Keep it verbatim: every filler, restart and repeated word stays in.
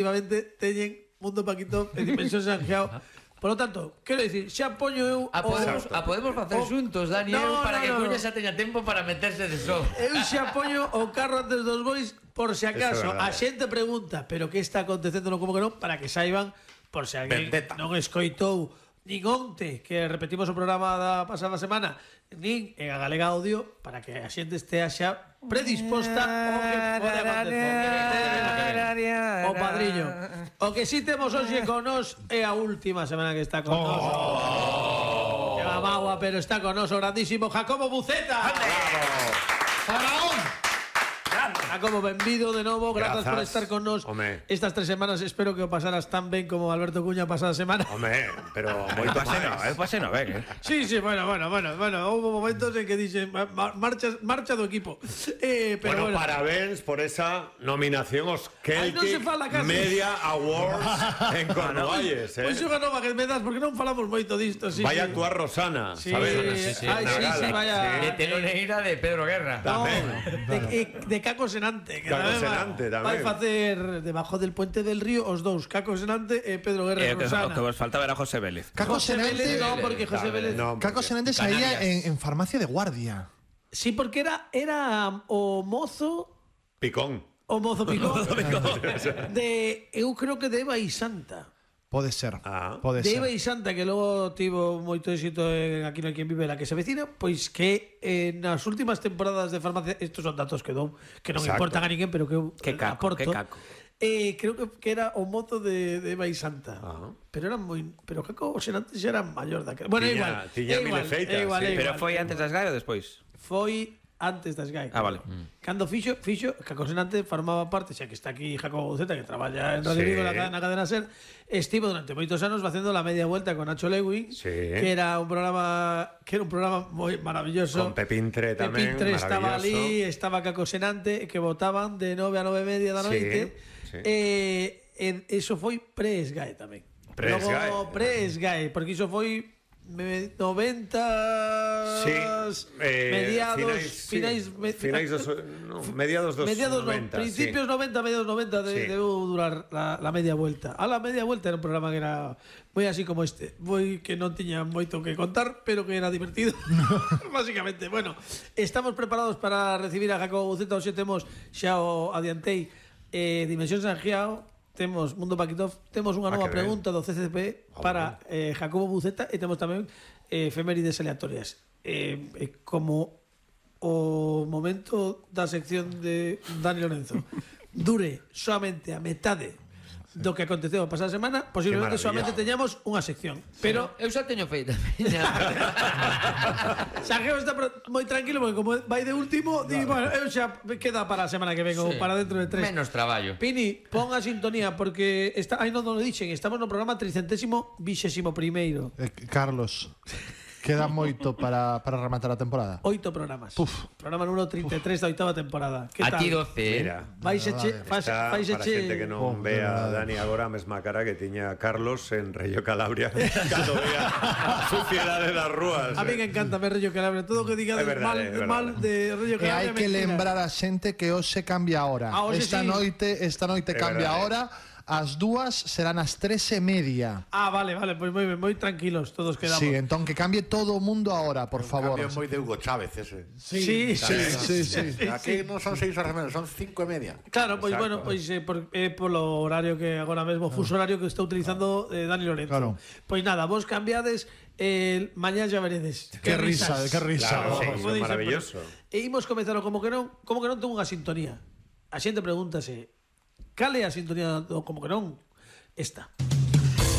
efectivamente teñen Mundo Paquito e Dimensión Sanjeao. Por lo tanto, quero dicir, xa poño eu... A podemos, a podemos facer o- xuntos, Dani, No, eu, para no, que no, Cuña no. xa teña tempo para meterse de só. Eu xa poño o carro antes dos bois por se acaso. Eso é verdade. A xente pregunta, pero que está acontecendo no como que non, para que saiban, por se alguén Vendetta. non escoitou nin onte, que repetimos o programa da pasada semana, nin en a Galega Audio, para que a xente estea xa predisposta ao que pode acontecer. O padriño. O que si temos hoxe con nos é a última semana que está con nos. Lleva magua, pero está con nos o grandísimo Jacobo Buceta. ¡Faraón! Jacobo, benvido de novo, grazas Grazas. por estar con nos Home. estas tres semanas. Espero que o pasaras tan ben como Alberto Cuña a pasada semana. Home, pero Eu moito pasei no, eu máis. pasei no ben, eh. Sí, sí, bueno, bueno, bueno, bueno, hubo momentos en que dixen ma- ma- marcha, marcha do equipo. Eh, pero Bueno, bueno, parabéns por esa nominación aos Ai, non se Celtic fala casi. Media Awards en Cornualles, Pois eh? xoga nova que me das porque non falamos moito disto, sí. Vai a sí. actuar Rosana, Sí, sabes? sí, sí. Ai, Na sí, gala. sí, vaya. De teloneira de Pedro Guerra. No, Tamén. de, eh, de Caco Senante que Caco tamén va- Senante, tamén. vai facer debajo del puente del río os dous, Caco Senante e Pedro Guerra Eh, e que, Rosana. o que vos faltaba era José Vélez. Caco José Vélez, Senante, no, porque José Tamén, Vélez. no, Caco porque- Senante salía en, en farmacia de guardia. Sí, porque era era o mozo Picón. o mozo picón. de eu creo que de Eva e Santa. Pode ser. Ah. Pode De ser. Eva e Santa, que logo tivo moito éxito en Aquí non hai quen vive la que se vecina, pois que eh, nas últimas temporadas de farmacia, estos son datos que dou, que non Exacto. importan a ninguén, pero que eu Que caco, aporto. que caco. Eh, creo que, que era o mozo de, de Eva e Santa. Ah. Pero eran moi, pero Caco Senante xa era maior daquela. Bueno, é Tiña- igual. tiña é mil igual, efeitas, é igual, sí. é Pero igual. foi antes das Gai ou despois? Foi antes das Gai. Ah, vale. Cando fixo, fixo, Caco Senante formaba parte, xa que está aquí Jacobo Buceta, que traballa en Radio Sí. Vigo, na, ca- na cadena SER, estivo durante moitos anos facendo la media vuelta con Nacho Lewin, Sí. que era un programa que era un programa moi maravilloso. Con Pepín Tre tamén, Pepín Tre estaba maravilloso. ali, estaba Caco Senante, que votaban de nove a nove e media da Sí, noite. sí. Eh, en, eso foi pre-Sgae tamén. Pre-Sgae. Logo pre-Sgae, porque iso foi me- noventa Sí, eh, mediados, finais, sí, finais, me- finais dos, no, mediados dos mediados no, noventa, principios sí. noventa, mediados noventa de, Sí. debeu durar la, la media vuelta. A la media vuelta era un programa que era moi así como este, moi que non tiña moito que contar, pero que era divertido. Básicamente, bueno, estamos preparados para recibir a Jacobo Buceta. Hoxe temos, xa o adiantei, eh, Dimensión Sanjeao, temos Mundo Paquitov, temos unha Ah, nova que ben. pregunta do C C P para eh, Jacobo Buceta e temos tamén eh, efemérides aleatorias. Eh, eh, como o momento da sección de Dani Lorenzo dure solamente a metade do que aconteceu a pasada semana, posiblemente Qué solamente maravilla. teñamos unha sección. Pero Eu xa teño feita. Sanjeo está pro- moi tranquilo porque como vai de último, di, bueno, eu xa queda para a semana que ven ou Sí. para dentro de tres. Menos traballo. Pini, pon a sintonía porque está, aí non nos lo dixen, estamos no programa tricentésimo vixésimo primeiro. Eh, Carlos, queda moito para, para rematar a temporada. Oito programas. Puf. Programa número treinta e tres da oitava temporada. Que A tal? ti doce, eh? Mira, Vais che, faz, está faz para che... xente que non Oh, vea a verdade. Dani agora a mesma cara que tiña Carlos en Reyo Calabria cando vea a suciedade das rúas. A mí eh. me encanta ver Rollo Calabria. Todo o que diga É verdade, mal, é verdade. mal de Rollo E Calabria. hai que mentira. lembrar a xente que hoxe cambia a hora. Ah, hoxe esta sí. noite, esta noite É cambia a verdade. hora. As dúas serán as tres e media. Ah, vale, vale, pois moi ben, moi tranquilos todos quedamos. Sí, entón que cambie todo o mundo ahora, por favor. Cambio moi de Hugo Chávez ese. Sí, sí, Sí, sí, sí. Aquí non son seis horas menos, son cinco e media. Claro, pois Exacto. bueno, pois eh, por, eh, polo horario que agora mesmo, fuso horario que está utilizando eh, Dani Lorenzo. Claro. Pois nada, vos cambiades, eh, mañá ya veredes. Qué risa, qué risa. Claro, sí, Como iso é dicen, maravilloso. pero- E imos comezar como que non, como que non tengo unha sintonía. A xente pregúntase, cal é a sintonía do como que non? Esta.